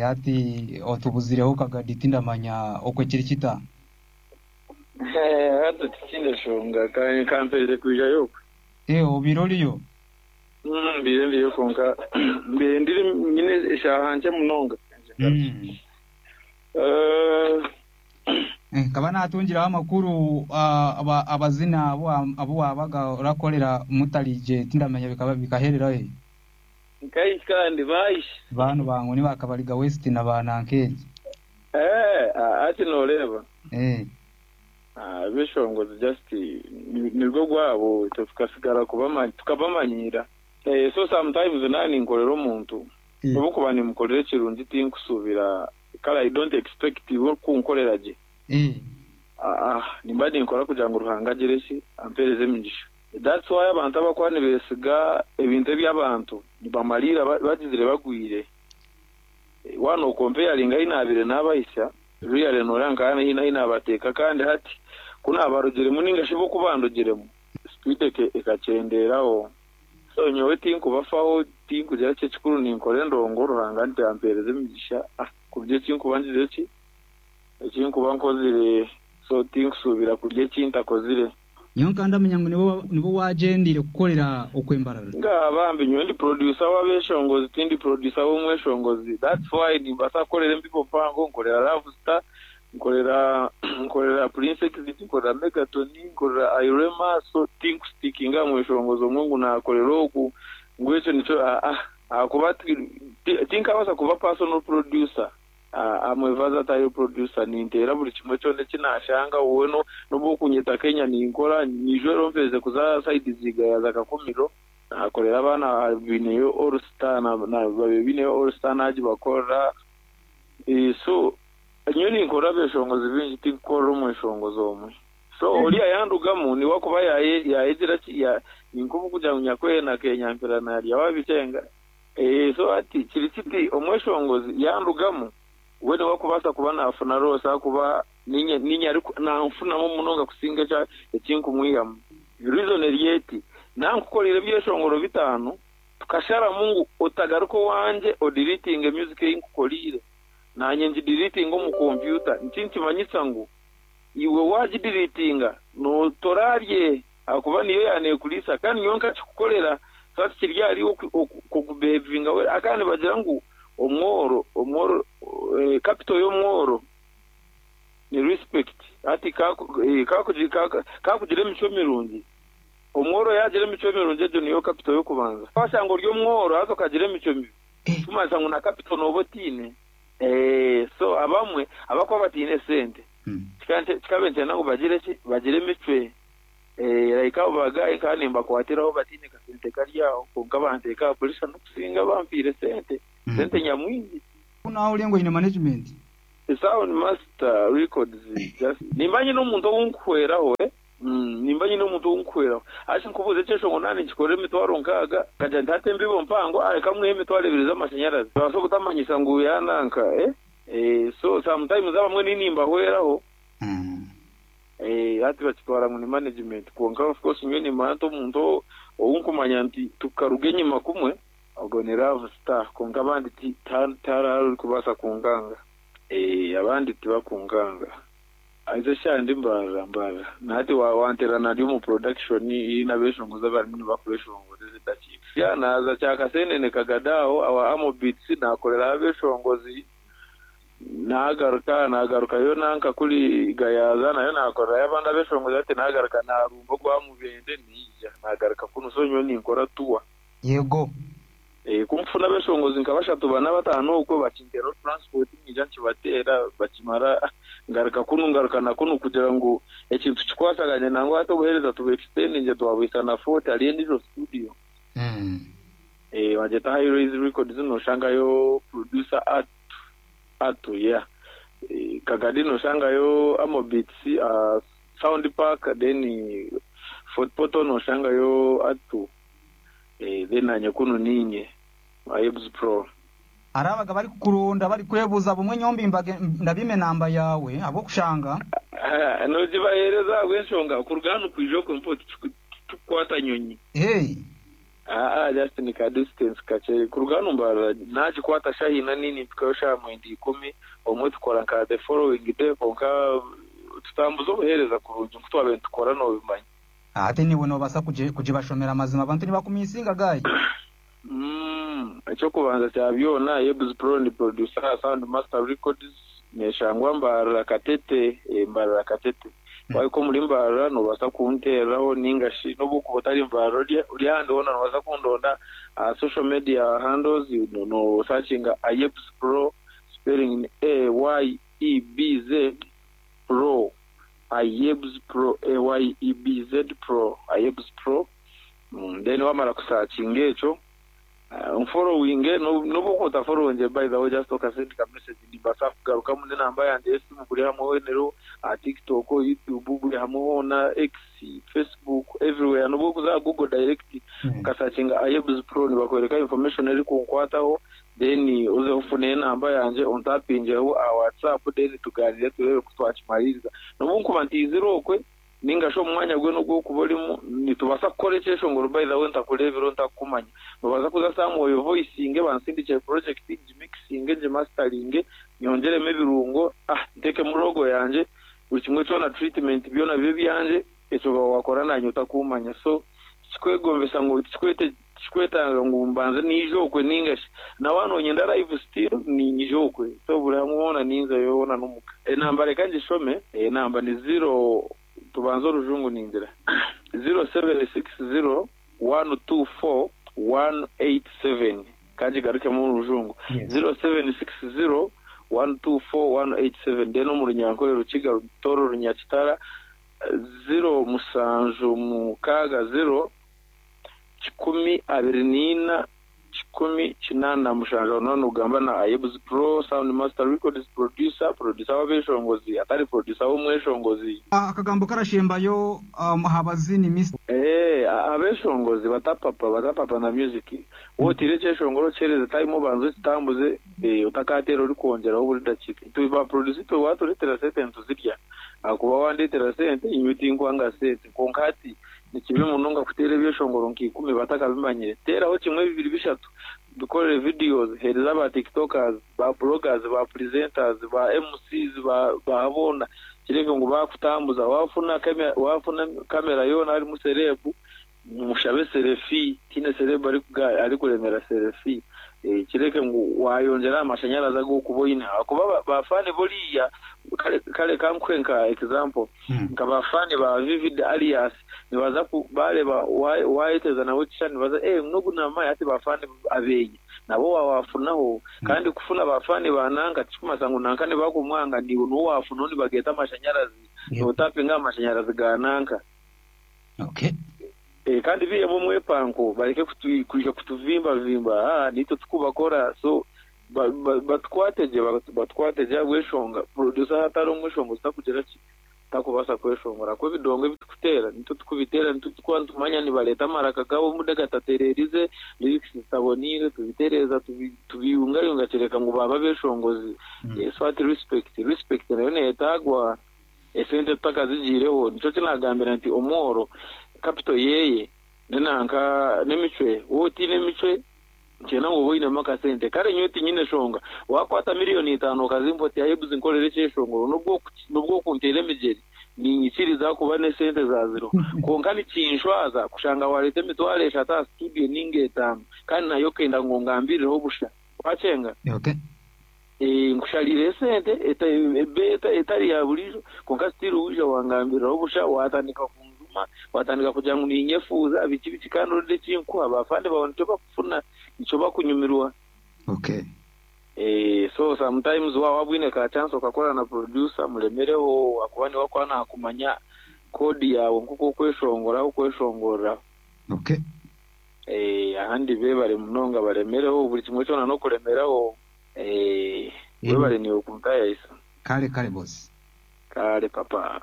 Hati otubuzireho Kagadi tindamanya okwe kiri kita. Hati tikiine nshonga ka mperize kwijayo okwe. Obaire oriyo? Mbaire ndiyo kwonka mbaire ndiri nyine eshaaha nkye munonga. Nkaba naatungiraho amakuru abazina abu waabaga orakorera mutarigye tindamanya bikaherera hi. Nkahi kandi baahi? Baanu ba ngu ni ba Kabaliga West na ba Nankeri. Hati nooreeba? Ebeshongozi just nirwo gwabo itwe tukasigara tukabamanyiira. So sometimes naaba ninkorera omuntu obu nkuba nimukorera ekirungi tinkusuubira kare I don't expect iwe kunkorera gye. Nimba ninkora kugira ngu Ruhanga agire ki ampeereze emigisha. That's why abantu abakuba nibeesiga ebintu eby'abantu nibamariira bagizire bagwire. Waaba nookompeyaringa ahu naabaire naabahisya, really nooreeba nka haine ahu naabateeka kandi hati ku naabarugiremu nainga shi bo ku bandugiremu, sipiidi ekakyendeeraho. So nyowe tinkubafaho, tinkugira ki, ekikuru ninkora endongo Ruhanga nti ampeereze emigisha kurya eki nkuba ngizire ki, eki nkuba nkozire. So tinkusuubira kurya eki ntakozire. Nyowe nkaba ndamanya ngu nibo waagyendeire kukorera okwo Mbarara. Ngaaha bambi nyowe ndi producer w'abeshongozi tindi producer w'omweshongozi that's why nimbaasa kukorera embibo mpango, nkorera Love Star, nkorera nkorera Prince Exit, nkorera Megaton, nkorera Irema so tinkustickinga aha mweshongozi omwe ngu naakorera ogu ngu ekyo nikyo aa ahakuba tinkabaasa kuba personal producer. I'm a versatile producer, ninteera buri kimwe kyona eki naashanga, wowe n'obu orikunyeta Kenya ninkora, nyija ori omperize kuza sayidi za Igaya za Kakumiro, naakorera abaana baineyo All Star, babaire baineyo All Star naagibakorera, so nyowe ninkorera abeeshongozi baingi tinkukorera omweshongozi omwe. So oriya yaandugamu niwe akuba yaayegira ki, ninka obu kugira ngu nyakweena akenyampira naarya waabikyenga. So hati kiri kiti, omweshongozi yaandugamu, we niwe arikubaasa kuba naafuna loss ahakuba niinye niinye nanfunamu munonga kusinga eki eki nkumwihamu. Reason eri eti, naankukoreire ebyeshongoro bitaano, tukasharamu ngu otagaruka owangye odeletinge music ei nkukoreire, naanye ngideletinge omu kompyuta. Niki nikimanyisa ngu iwe waagideletinga toraarye. Ahakuba niyo yaaneekuriisa, kandi nyowe nkakikukorera, so hati kiri ahariiwe okubehevinga well. Kandi nibagira ngu omworo, omworo, capital y'omworo ni respect. Hati ka kugira emicwe mirungi, omworo yaagira emicwe mirungi egyo niyo capital y'okubanza. Waashanga ori omworo haza okagira emicwe mibi, ekirikumanyisa ngu na capital nooba otaine. So abamwe abarikuba bataine sente, kikaba nikyenda ngu bagire ki? Bagire emicwe. Like abo ba guy nkaba nimbakwatiraho bataine kasente kari aho kwonka banteeka aha pressure n'okusinga bampaire sente, sente nyamwingi. Ku naahuriire ngu oine management. Sound master records just nimba nyine omuntu ou nkuhweraho eh nimba nyine omuntu ou nkuhweraho hati nkubuuze ekyeshongo naaba ninkikorera emitwaro nkaaga nkagira nti hati embibo mpango ah reka mwihe emitwaro ebiri z'amashanyarazi nibabaasa obutamanyisa ngu yananka eh so sometimes abamwe nimbahweraho. Hati bakitwara ngu ni management kwonka of course nyowe nimanya nti omuntu ou nkumanya nti tukaruga enyima kumwe ogwo ni Love Star kwonka abandi tihariho orikubaasa kunkanga. Abandi tibakunkanga. Haza eshaaha ndi mbarara mbarara na hati wanteerana ndi omu production haine abeshongozi abarimu nibakweshongora ezi edakiika. Naaza Kyakasenene Kagada aho awa Amo Beats naakoreraho abeshongozi. Naagaruka, naagarukayo nanka kuri Gayaza nayo naakorerayo abandi abeshongozi hati naagaruka naarumba ogwa Mubende naija naagaruka kunu so nyowe ninkora tour. Yego. Ku nkufuna abeshongozi nka bashatu, bana, bataano okwo bakinteeraho transport nyija nkibateera bakimara ngaruka kunu ngaruka na kunu kugira ngu ekintu kikwasagane nangwa hati obuheereza tubu extendinge twabuhisa na Fort hariyo endiijo studio. Bagyeta High Rise Records noshangayo producer Atu Atu yeah Kagadi noshangayo Amo Beats Sound Park then Fort Portal noshangayo Atu then nanye kunu ninye Ayebz Pro. Hariho abaga barikukuronda barikwebuuza bumwe nyowe ndabiima enamba yaawe ahabw'okushanga. Nogibaheereza ahabw'enshonga kuruga hanu kwija okwe mpo titukukwata nyonyi. Hey. Aa just ni ka distance kakye kuruga hanu Mbarara nagikwata shaaha ina nini mpikayo shaaha mwenda ikumi obumwe tukora nka the following day kwonka tutambuza obuheereza kurungi nku twabaire nitukora nobimanya. Ate niiwe nobaasa kugibashomera mazima abantu nibakumisinga guy. Umm ekyokubanza kya byona Yebz Pro ndi producer aha Sound Master Records neshangwa Mbarara Katete eh Mbarara Katete wahika omuri Mbarara nobaasa kuntereraho ninga shi nobu okuba otari Mbarara ori ahandi hoona nobaasa kundonda aha social media handles no searchinga Ayebz Pro spelling ni AYEBZ Pro Ayebz Pro AYEBZ Pro Ayebz Pro Then wamara kusakinga ekyo onforowinge nobu okuba otaforowingire by the way just okasindika message nimbaasa kugarukamu n'enamba yangye y'esimu buri hamwe hoona eriho aha TikTok, YouTube buri hamwe hoona X, Facebook everywhere nobu okuza aha Google direct okasakinga Ayebz Pro nibakworeka information erikunkwataho then oze ofune enamba yangye ontapingeho aha WhatsApp then tuganire tureebe ku twakimariiriza nobu nkuba ntiizire okwe Ninga shi omu mwanya gwena ogu orikuba orimu, nitubaasa kukora ekyeshongoro by the way ntakureebire ntakukumanya. Noobaasa kuza somewhere ovoicinge bansindikire project ngimixinge ngimasteringe nyongyeremu ebirungo ah nteekemu logo yangye buri kimwe kyona treatment byona bibe ebyangye ekyo oba waakora naanye otakuumanya so tikikwegombesa ngu tikikwetaaga ngu mbanze naija okwe ninga shi na waaba noonyenda live still niinyija okwe so buri hamwe hoona ninzayo hoona n'omuka. Enamba reka ngishome, enamba ni ziro tubanze orujungu ningira ziro seveni sikisi ziro wani tu fo wani eyiti seveni ka ngigarukemu omu rujungu ziro seveni sikisi ziro wani tu fo wani eyiti seveni then omu runyankore rukiga rutoro runyakitara ziro mushanju mukaaga ziro 124 187. Aho noba nogamba na Ayebz Pro, Sound Master Records Producer, Producer w'abeshongozi atari Producer w'omweshongozi. Akagambo karashembayo aha bazini Mister. Eeh abeshongozi batapapa batapapa na music wotiire ekyeshongoro okihereze time obanze okitambuze otakateera orikwongyeraho buri dakiika itwe ba producer itwe waturetera sente nituzirya ahakuba wandetera sente nyowe tinkwanga sente kwonka hati Ni kibi munonga kuteera ebyeshongoro nka ikumi batakabimanyire. Teeraho kimwe, bibiri, bishatu, bikorere videos, heereza ba tiktokers, ba bloggers, ba presenters, ba MCs, ba ba boona kirebe ngu baakutambuza. Waafuna waafuna kamera yoona harimu celeb, mushabe selfie, tihaine celeb arikuremera selfie. Kireke ngu waayongyera aha mashanyarazi agu orikuba oine ahakuba ba faani buriya, kare kare ka nkuhe nka example, Nka ba faani ba Vivid Alias nibaza ku bareeba wayeteza nawe ekishushani nibaza eeh ngu nogu namumanya hati ba faani abenye nabo wawafunaho kandi kufuna ba faani ba nanka tikikumanyisa ngu nanka nibakumwanga niiwe niwe wafunaho nibageeta amashanyarazi notapinga aha mashanyarazi ga nanka. Okay. Kandi biihemu omwepanko bareke kwija kutuvimbavimba haa naitwe tikubakora so Batukwate gye, batukwate gye ahabw'enshonga producer hatari omweshongozi takugira ki, takubaasa kweshongora ahakuba ebidongo ebi tukuteera nitwe tukubiteera nitwe tukuba nitumanya nibareeta amaraka gaabo omude gatatereerize, lyrics zitaboneire tubitereeza tubiyungayunga kireka ngu baaba abeshongozi. So hati respect, respect nayo neyetaagwa esente tutakazigiireho. Nikyo eki naagambira nti omworo capital yeeye n'enanka n'emicwe, waaba otaine emicwe Nkyenda ngu obe oinemu akasente. Kare nyowe tinyine shonga. Waakwata miriyoni itaano okazimpa oti Ayebs nkorere ekyeshongoro, n'obu okunteera emigyeri, niinyikiriza ahakuba n'esente zaaziriho. Kwonka nikinshwaza kushanga waareeta emitwaro eshatu aha situdiyo nainga etaano kandi nayo okenda ngu ongambirireho busha. Waakyenga? Nkushariire esente etari ya buriijo, kwonka still waija wangambiriraho busha, waatandika kunjuma, waatandika kugira ngu ninyefuuza, biki biki kandi orenda eki nkuha, ba faani baawe nikyo bakufuna, nikyo bakunyumirwa. Okay. So sometimes waaba wabwine ka chance okakora na producer muremereho ahakuba niwe akuba naakumanya code yaawe nk'oku okweshongora ahu okweshongorera. Okay. Ahandi beebare munonga baremereho buri kimwe kyona n'okuremeraho. Webare niiwe kuntayayisa. Kare kare boss. Kare papa.